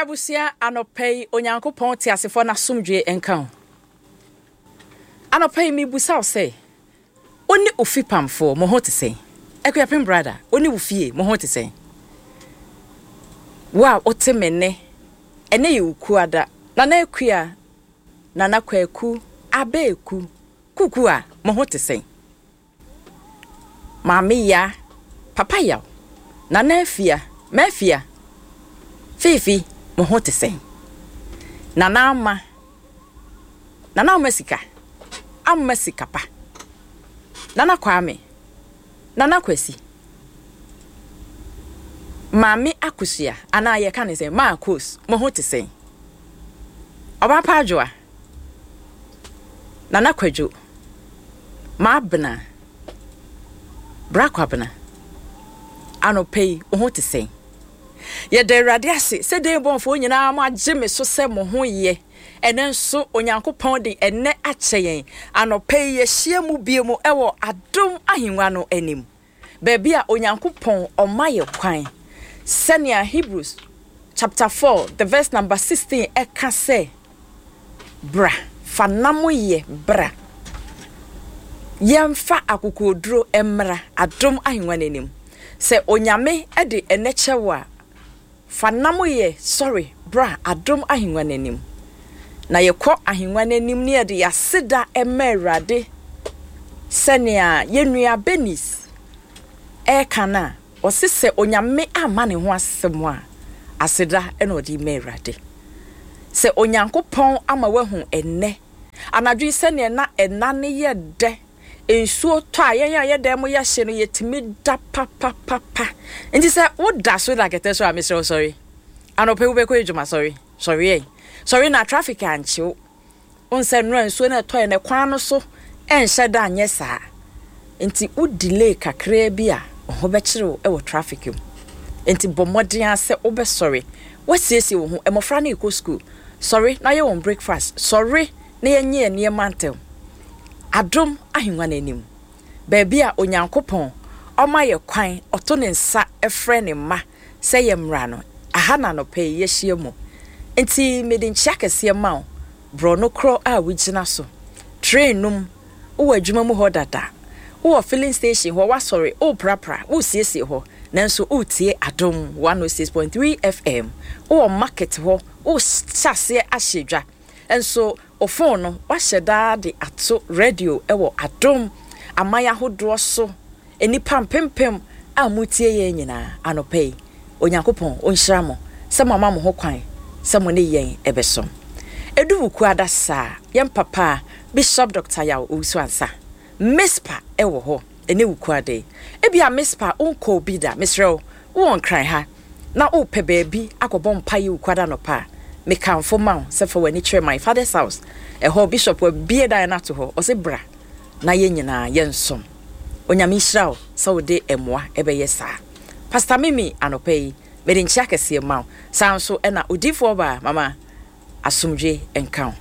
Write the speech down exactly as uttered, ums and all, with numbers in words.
Abusua, anɔpa yi Onyankopɔn te asefoɔ n'asomdwe nka ho. Anɔpa yi mebusa wo sɛ, wo ne ofi pamfoɔ mo ho te sɛn? Akuapem brother, wo ne wo fie mo ho te sɛn? Wo a wote me nne, ɛnɛ yɛ Wukuada. Nana Akua, Nana Kwaku, Abeeku, Kuku a mo ho te sɛn? Maame Ya, Papa Yaw, Nana Afia, Mafia, Fiifi, mo ho te sɛn? Nana Ama, Nana Ama sika, Ama sika pa. Nana Kwame, Nana Kwasi, Maame Akosua, anaa yɛka ne sɛ Maakos, mo ho te sɛn? Ɔbaa pa Adwoa, Nana Kwadwo, Maabena, Bra Kwabena, anɔpa yi wo ho te sɛn? Yɛda Awurade ase sɛ den bɔnfoɔ nyinaa mo agye me so sɛ mo ho yɛ. Ɛnɛ nso Onyankopɔn de ɛnɛ akyɛ yɛn. Anɔpa yi yɛhyia mu bio mu ɛwɔ Adom Ahengua no anim, baabi a Onyankopɔn ɔma yɛ kwan sɛnea Hebrews chapter four the verse number sixteen ɛka sɛ, bra fa nam yɛ bra, yɛmfa akokoɔduro mmra Adom Ahengua no anim. Sɛ Onyame de ɛnɛ kyɛ wo a, fa nam yɛ sɔre bra Adom Ahengua no anim. Na yɛkɔ ahengua no anim ne yɛde yɛaseda ɛma Awurade sɛnea yɛn nua Benis ɛreka no a, ɔse sɛ Onyame amma ne ho asɛm a, aseda ɛna ɔde ma Awurade. Sɛ Onyankopɔn ama wahu ɛnnɛ anadwo yi sɛnea na ɛna ne yɛ dɛ, nsuo tɔ a yɛn a yɛdan mu yɛhye no yɛtumi da papapapa. Nti sɛ woda so da kɛtɛ so a, mesrɛ wo sɔre. Anɔpa yi wobɛkɔ adwuma, sɔre. Sɔre ɛ. Sɔre na traffic ankyew. Wo sɛ nnora nsuo no ɛtɔ yɛ no kwan no so ɛnhyɛ da anyɛ saa. Nti wo delay kakraa bi a, wo ho bɛkyerɛ wo ɛwɔ traffic mu. Nti bɔ mmɔden ara sɛ wobɛsɔre. Woasiesie wo ho. Mmɔfra no rekɔ school. Sɔre na yɛ wɔn breakfast. Sɔre na yɛnyɛ yɛn nneɛma ntɛm. Adom Ahengua no anim, baabi a Onyankopɔn ɔma yɛ kwan, ɔto ne nsa ɛfrɛ ne mma sɛ yɛ mmra no, aha na anɔpa yi yɛahyia mu. Nti mede nkyia kɛseɛ ma wo, borɔno korɔ a wogyina so, train no mu, wowɔ adwuma mu hɔ dada, wowɔ filling station hɔ, woasɔre, woreprapra, woresiesie hɔ, nanso woretie Adom one oh six point three F M, wowɔ market hɔ, worehyɛ aseɛ ahyɛ dwa, nso wo phone no wahyɛ daa de ato radio ɛwɔ Adom aman ahodoɔ so. Nnipa mpempem a motie yɛn nyinaa anɔpa yi, Onyankopɔn ɔnhyira mo sɛ mo ama mo ho kwan sɛ mo ne yɛn ɛbɛsom. Ɛdu Wukuada saa, yɛn papa Bishop Doctor Yaw Owusu Ansa Mispa ɛwɔ hɔ ɛne Wukuada yi. Ebi a Mispa wonkɔ bi da, mesrɛ wo, wowɔ Nkran ha na wopɛ baabi akɔbɔ mpa yi Wukuada nɔpa a, mekamfo ma wo sɛ fa w'ani kyerɛ My Father's House. Ɛhɔ Bishop wabie dan no ato hɔ, ɔsɛ bra na yɛn nyinaa yɛnsom. Onyame nhyira wo sɛ wode mmoa ɛbɛyɛ saa. Pastor Mimi, anɔpa yi mede nkyia kɛseɛ ma wo. Saa nso ɛna odiyifoɔ baa Mama, asomdwe nka wo.